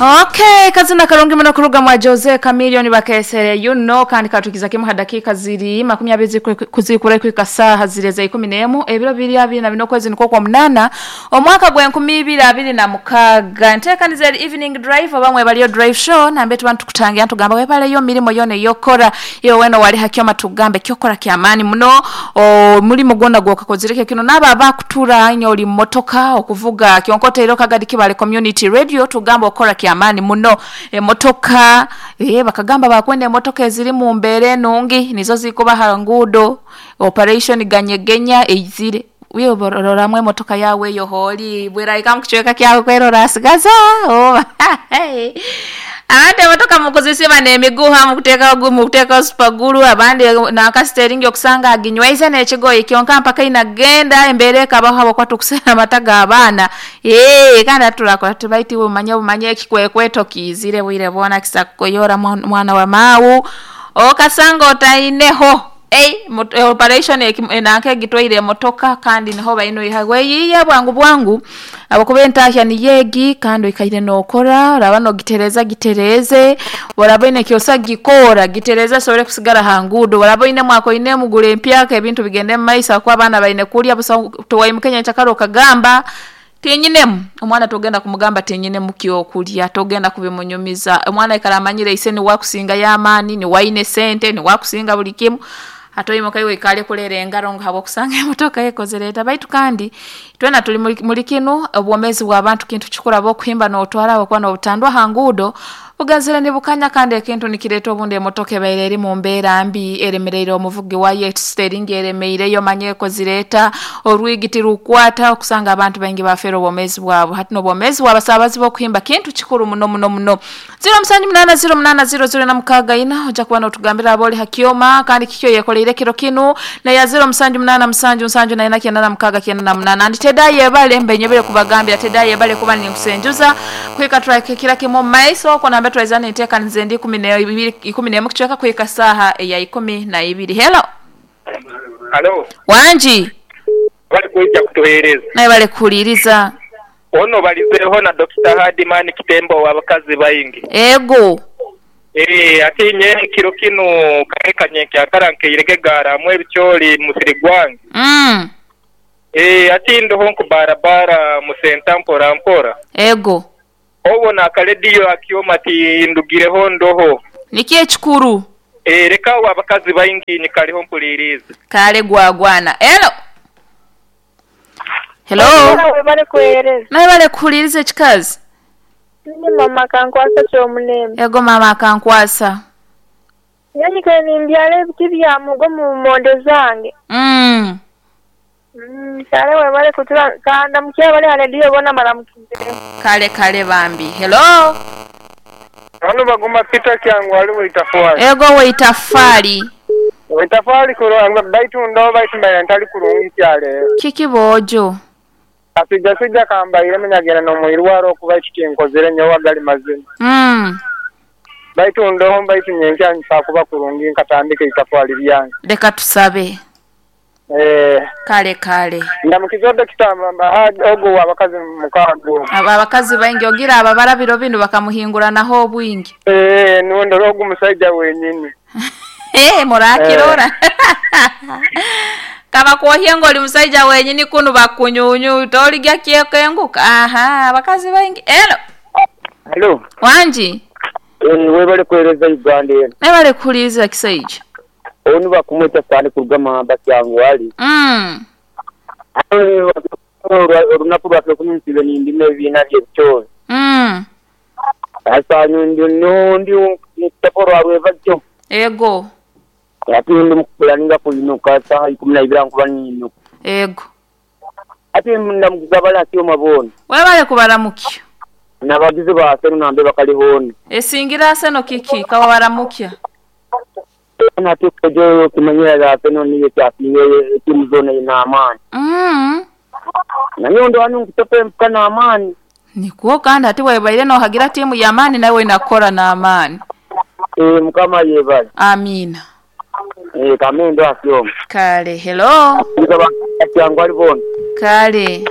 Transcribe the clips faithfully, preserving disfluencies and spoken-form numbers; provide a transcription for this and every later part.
Okay, kazina karungi muno kuruga mwa Jose Chameleone bakesere you know kandi katukiza kimu hadakika ziri makumi abiri kuzikura kwika saha zireza ikumi n'emu ebiro biri abiri na bino kwezi niko kwa munana omwaka gwa enkumi ibiri abiri na mukaga ntekaniza evening drive abamwe baliyo drive show nambe tubantu tukutangira tugamba webaleyo mirimo yone yokora iyo weno wali hakyoma tugambe kyokora kyamani muno mulimo gwona gwokakozireke kino naba abakutura inyo oli motoka okuvuga kyonkote ero kagadi kibale community radio tugamba okora kyamani muno emotoka eh bakagamba bakwenda emotoka eziri mu mbere nungi nizo zikuba harangudo operation ganyegenya eizire wiyo bororamwe emotoka yawe yoholi bweraika mukuchweka kyawe kwerora asigaza oh abandi emotoka mukuzisiba nemiguha mukuteka mukuteka supaguru abandi nakasiteringi okusanga aginywaize n'ekigoyi kyonka mpaka inagenda embere kabaho abo kwatukusera amata abaana eh kandi atulakola tubaiti umanye umanye ekikwekweto kizire bwire bona kisakoyora mwana wa mawu okasanga otaineho Ei, operation enanke gitwaire emotoka kandi niho baino ihagwe yiye bwangu bwangu abakuba entahya ni yegi kandi ikaire nokora raba no gitereza gitereze waraba ine kyosa gikora gitereza sobere kusigara hangudo waraba ine mwako ine mugule empyaka ebintu bigende maisa kwa abana baine kulya busa tuwayimukenya chakaro kagamba tinyinemu omwana togenda kumugamba tinyinemu kyokulya togenda kubimunyumiza omwana ikaramanyire iseni wakusinga yamani ni waine sente ni wakusinga buli kimu atoyimo kaiwe ikale kulera engaro ngabo kusanga emotoka yekozereta baitu kandi twena tuli muri kinu obwomezi bw'abantu kintu kikura bo kuhimba n'otwara abakwa n'obutandwa hangudo bugazire nibukanya kandi ekintu nikireta obundi emotoka ebaire eri mu mbeera mbi eremereire omuvugi wayo steering eremeireyo manye ekozireta orwigiti rukwata okusanga abantu baingi bafera obwomezi bwabo hati n'obwomezi bw'abasabazi b'okuhimba kintu kikuru muno muno muno zero musanju munana zero munana zero zero na mukaga ina ojja kuba n'otugambira aboli hakyoma kandi kikyo yekoleire kiro kinu na ya zero musanju munana musanju musanju na ina kyenda na mukaga kyenda na munana ndi tedaye bale mbenyebere kubagambira tedaye bale kuba ninkusenjuza kwika track kila kimu maiso kona ambaye twaizana iteka nzendi ikumi na ibiri ikumi na emu kuchweka kuika saha ya ikumi na ibiri. Hello. Hello. Wanji. Bali kuija kutuhereza. Naye bale kuliriza. Ono balizeho na Doctor Hardman Kitembo wabakazi bayingi. Ego. Eh atinye kiro kino karekanye kyakaranke irege gara mwe bicyoli musiri gwange. Mm. Eh atindo honku barabara musenta mpora mpora. Ego. Obona akarediyo akioma ati ndugireho ndoho. Nikiye chikuru? Eh reka wabakazi bayingi nikaliho mpuliriza. Kale gwagwana. Hello. Hello. Nawe kuhereza. Nawe bale kuhuliriza chikazi. Ni mama kankwasa kyomulembe. Ego mama kankwasa. Yani kwe nimbyale ebiti bya mugo mu mondo zange. Mm. Mm, kale webale kutura kanda mukya bale alediyo bona maramukize. Kale kale bambi. Hello. Ano baguma Peter kyangu ali weitafali. Ego weitafali. Weitafali kuranga baitu ndo baitu mbaya ntali kurungi kyale. Kiki bojo. Asija sija kamba ile menyagera no muirwaro okuba ikinkozere nyo wagali mazima. Mm. Baitu ndo baitu nyenkya nsakuba kurungi nkatandika itafali lyange. Leka tusabe. Eh kale kale ndamukizo dokita ogo wabakazi mukago aba abakazi baingi ogira aba barabiro binu bakamuhingura naho obwingi eh nundo ogo musaija wenyini eh murakirora kaba kuohengo oli musaija wenyini kunu bakunyunyu toligya kyekenguka aha abakazi baingi. Hello. Hello. Wanji eh webale kuhereza Uganda eno nabale kuliza kisaija onu bakumweta cyane kurugama bakyangu wali mm olunaku lwaffe kumisibe nindime ebibiina by'ebitoozi mm asanyu ndi ndi mukutaporo alwevajjo ego ate ndi mukupulaninga kuyinuka saha ikumi na ibiri nkuba niyinuka ego ate ndamugabala akyoma boona webale kubaramukya nabagizi ba Aseno nambe bakalihoona esingira Aseno kiki kawabaramukya nate kojo kimanyira Aseno niyo kyasinye timu zona ina amani mm nanyo ndo anu nkutope mpuka na amani nikuo kandi ati webaire no hagira timu ya amani nawe inakora na amani eh mukama yebale amina eh kamendo asyoma kale hello ngaba kyangu alibona kale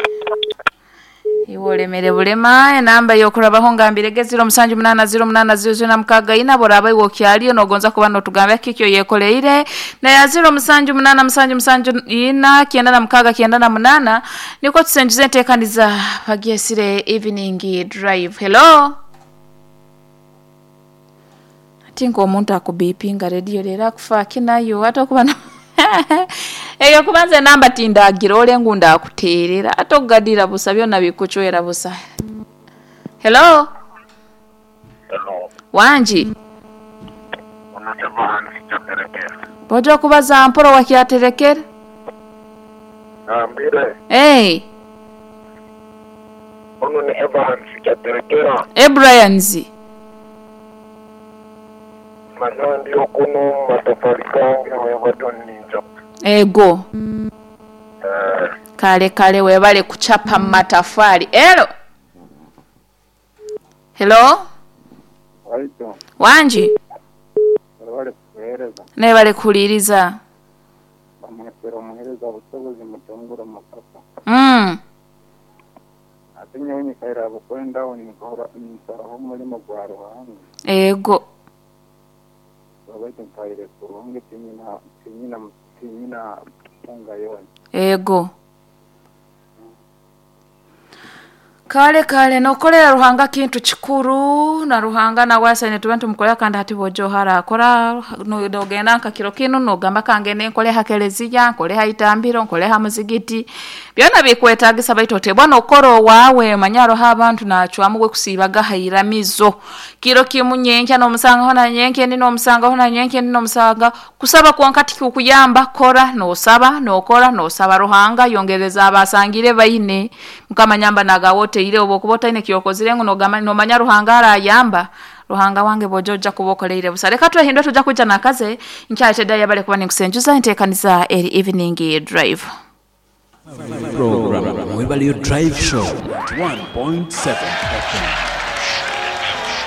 Iwe olemere bulema enamba yokurabaho ngambirege ziro musanju munana ziro munana ziro ziro na mukaga ina boraba iwe okyaliyo nogonza kuba notugamba kikyo yekoleire na ya ziro musanju munana musanju musanju ina kienda na mukaga kienda na munana niko tusenjuze enteekaniza bagyesire evening drive. Hello, ati ng'omuntu akubipinga rediyo leero akufaaki nayo ate okuba na eyo kubanza enamba tindagira ole ngu ndakuteerera ate okugadira busa byonna bikucwera busa. Hello. Hello. Wangi. Unasema nsichaterekera. Bojja kubaza mporo wakyaterekera. Ambire. Hey. Ono ni Abraham sichaterekera. Ebrians. Manyo ndio kuno matofali kange wewe ninja. Ego. Eh, Kale kale webale kuchapa matafali. Hello. Hello. Waito, Wangi. webale kuhereza Nebale kuliriza. bamwefera omuhereza busobozi mutongura mukasa Mm. ate nyowe nyikaira bukwendaho ninkora ninsaraho omulimo gwa Ruhanga. Ego. Wabaitu nkaire kurungi tinyina tinyina tinyina kunga yona. Ego. Kale kale nokolera Ruhanga kintu kikuru na Ruhanga nawe asaine tuba ntumukolera kandi hati bojo harakora nogenda nka kiro kinu nogamba kangende nkole ha keleziya nkole ha itambiro nkole ha muzigiti byona bikwetagisa baitu otebwa nokora owawe manyaro ha abantu nachwamu gwe kusibaga hairamizo kiro kimu nyenkya nomusangaho na nyenkya ndi nomusangaho na nyenkya ndi nomusanga kusaba kwonka tikukuyamba kora nosaba nokora nosaba Ruhanga yongereza abasangire baine mukama nyamba nagawote ile obo kubota ine kyokozire ngo nogama nomanya Ruhanga arayamba Ruhanga wange bojoja kubokoleire busa reka twehindwe tuja kuja nakaze nkyatedda yabale kuba nikusenjuza enteekaniza eri evening drive Program Mwebale Drive Show one point seven F M.